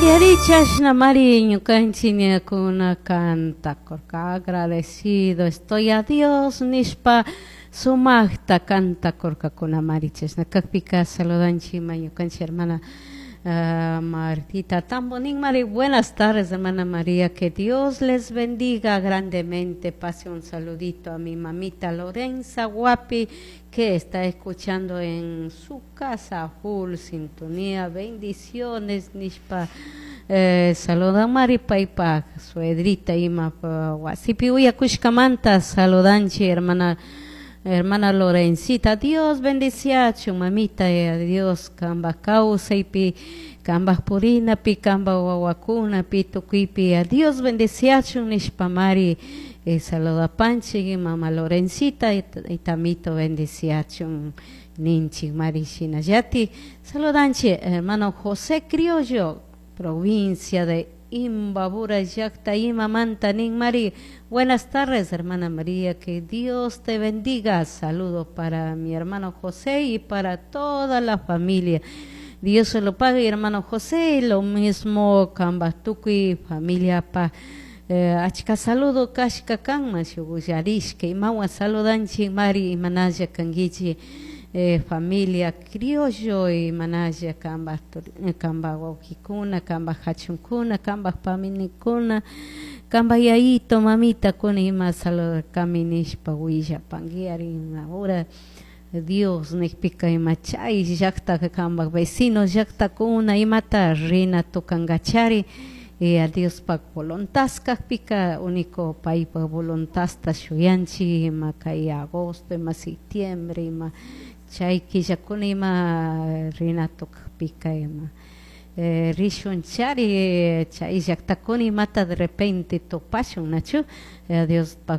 Ari, ari, chashna mari ñukanchik ñakuna cantakurka agradecido estoy a Dios nishpa sumakta cantakurkakuna mari. Chashna kakpika saludanchik ima ñukanchik hermana Martita Tambonín. Mari, buenas tardes, hermana María, que Dios les bendiga grandemente. Pase un saludito a mi mamita Lorenza Guapi, que está escuchando en su casa, full sintonía, bendiciones nishpa saludan mari paypak suegrita ima wasipi uyakushkamanta. Saludanchik hermana Lorencita. Dios bendiciachun, mamita, Dios kambak kawsaypi, kambak purinapi, kambak wawakunapi, tukuypi Dios bendiciachun nishpa mari saludapanchik mama Lorencita y tamito bendiciachun ninchik mari. Shinallatik saludanchik hermano José Criollo, provincia de Imbabura llakta imamanta nin mari: buenas tardes, hermana María, que Dios te bendiga. Saludo para mi hermano José y para toda la familia. Dios se lo pague, hermano José, lo mismo kambak tukuy familia pa achka saludo kashka kanman shuk uyarishka imawan saludanchik mari. Imanalla kankichik, familia Criollo? Imanalla kambak kambak wawkikuna, kambak hachunkuna, kambak paminikuna, kambak yayito mamitakuna ima saludarkami nishpa willapanki ari. Ahora Dios nikpika ima chay llakta kambak vecino llaktakuna imata rina tukankachari a Diospak voluntad kakpika, único paypak voluntadta shuyanchik. Ima kay agosto, ima septiembre, ima chay killakuna ima rina tukakpika ima rishun chari chay llaktakuna imata de repente tupashun, nachu Diospak.